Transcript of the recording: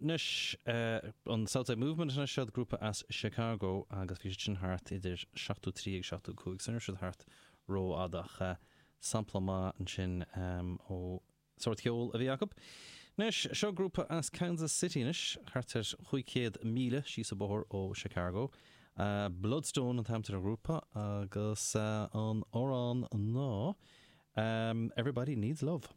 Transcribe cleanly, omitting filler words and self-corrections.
Anois, an Southside Movement anois, siad grúpa as Chicago agus bhí siad sin thart idir 73 agus 75, so ní raibh siad thart rófhada ach sampla maith ansin ó sórt ceoil a bhí acu. Anois, seo grúpa as Kansas City anois, thart ar 500 míle síos an bóthar ó Chicago. Bloodstone an t-ainm atá ar an ghrúpa agus an amhrán ná Everybody Needs Love.